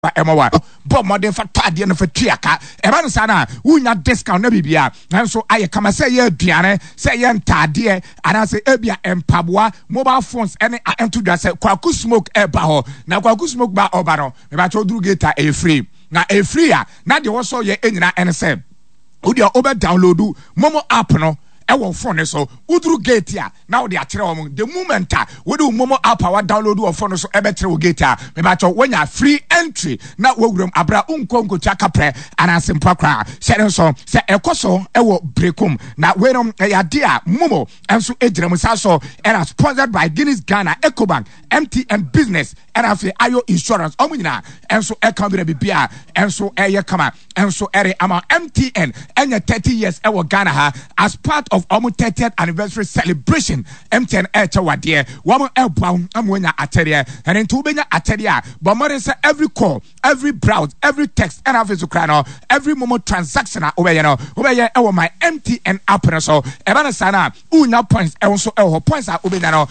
Ɛma wa bɔ mmɔden fa tɔ adeɛ no fa tua ka. Ɛba no saa no a, wonya discount na biribia nanso ayɛ kama, sɛ ɛyɛ aduane, sɛ ɛyɛ ntaadeɛ, anaasɛ ebia mpaboa, mobile phones ɛne ɛnto dwa sɛ Kwaku Smoke ɛba hɔ. Na Kwaku Smoke ba ɔba no, mebakyɛ woduru gate a, ɛyɛ free. Na ɛyɛ free a, na deɛ wɔsɔ yɛ nyinaa ɛne sɛ wodeɛ wobɛ download MoMo app no ɛwɔ phone no so. Woduru gate a, na wode akyerɛ wɔn. The moment a wode wo MoMo app a wa download wɔ phone no so ɛbɛkyerɛ wo gate a, mebakyɛ woanya free entry na wawuram abira nkɔ nkotua kaprɛ anaasɛ mpoa koraa. Hyɛ no nso sɛ ɛkɔ so ɛwɔ Brekum. Na wei no ɛyɛ ade a MoMo nso gyina mu saa so, ɛna sponsored by Guinness Ghana, Ecobank, MTN Business, ɛna afei Ayo Insurance. Ɔmo nyinaa ɛnso ɛka bi na biribi a ɛnso ɛyɛ kama ɛnso ɛre ama MTN ɛnyɛ 30 years ɛwɔ Ghana ha. As part of ɔmo 30th anniversary celebration, MTN ɛɛkyɛ wadeɛ, wɔn ɛɛboa wo ama wɔnya akyɛdeɛ. Ɛne nti wobɛnya akyɛdeɛ a, bɔ mmɔden sɛ every call, every browse, every text, ɛna afei so kora no every MoMo transaction a wobɛyɛ no, wobɛyɛ ɛwɔ My MTN app no so. Ɛba no saa no a, wonya points. Ɛwɔ nso ɛwɔ hɔ, points a wobɛnya no.